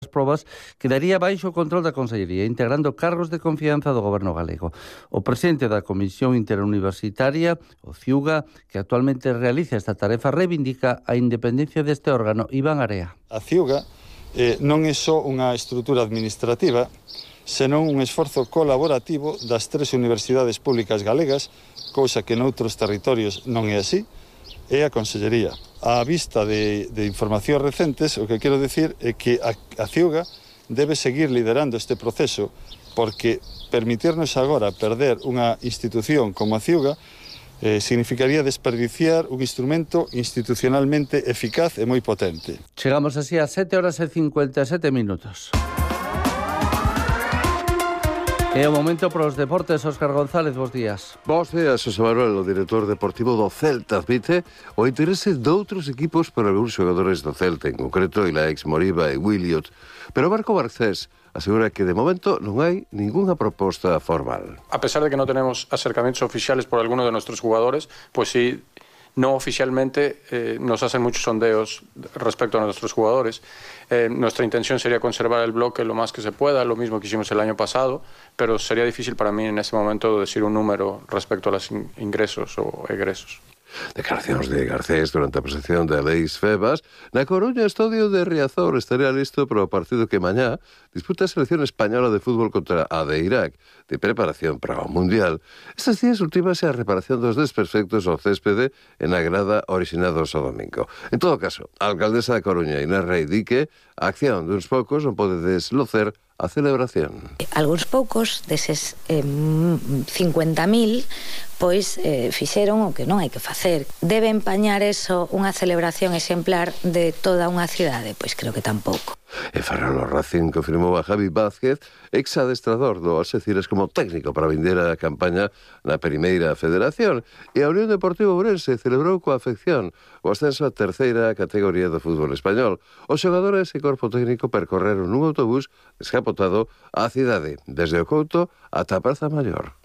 as probas quedaría baixo o control da Consellería, integrando cargos de confianza do Goberno galego. O presidente da Comisión Interuniversitaria, o CIUGA, que actualmente realiza esta tarefa, reivindica a independencia deste órgano. Iván Area. A CIUGA non é só unha estrutura administrativa, senón un esforzo colaborativo das 3 universidades públicas galegas, cousa que noutros territorios non é así, é a Consellería. A vista de informacións recentes, o que quero decir é que a CIUGA debe seguir liderando este proceso, porque permitirnos agora perder unha institución como a CIUGA significaría desperdiciar un instrumento institucionalmente eficaz e moi potente. Chegamos así a 7:57. É o momento para os deportes. Óscar González, bos días. Bos días, José Manuel, o director deportivo do Celta admite o interese doutros equipos para algúns xogadores do Celta, en concreto Ilaix, Moriba e Williot. Pero Marco Barcés asegura que de momento non hai ninguna proposta formal. A pesar de que no tenemos acercamientos oficiales por alguno de nuestros jugadores, pues sí, no oficialmente nos hacen muchos sondeos respecto a nuestros jugadores. Nuestra intención sería conservar el bloque lo más que se pueda, lo mismo que hicimos el año pasado, pero sería difícil para mí en este momento decir un número respecto a los ingresos o egresos. Declaracións de Garcés durante a presentación de Leis Febas. Na Coruña, o estadio de Riazor estaría listo para o partido que mañá disputa a selección española de fútbol contra a de Irak, de preparación para o Mundial. Estes días ultimase a reparación dos desperfectos ao céspede en a grada originados ao domingo. En todo caso, a alcaldesa da Coruña, Inés Rei, di que a acción duns poucos non pode deslocer a celebración. Algúns poucos deses 50.000 pois fixeron o que non hai que facer. Debe empañar eso unha celebración exemplar de toda unha cidade? Pois creo que tampouco. E Ferrol Racing confirmou a Javi Vázquez, ex-adestrador do Alxeciras, como técnico para vender a campaña na Primeira Federación. E a Unión Deportiva Ourense celebrou coa afección o ascenso á terceira categoría do fútbol español. Os xogadores e corpo técnico percorreron nun autobús descapotado á cidade, desde o Couto ata a Praza Maior.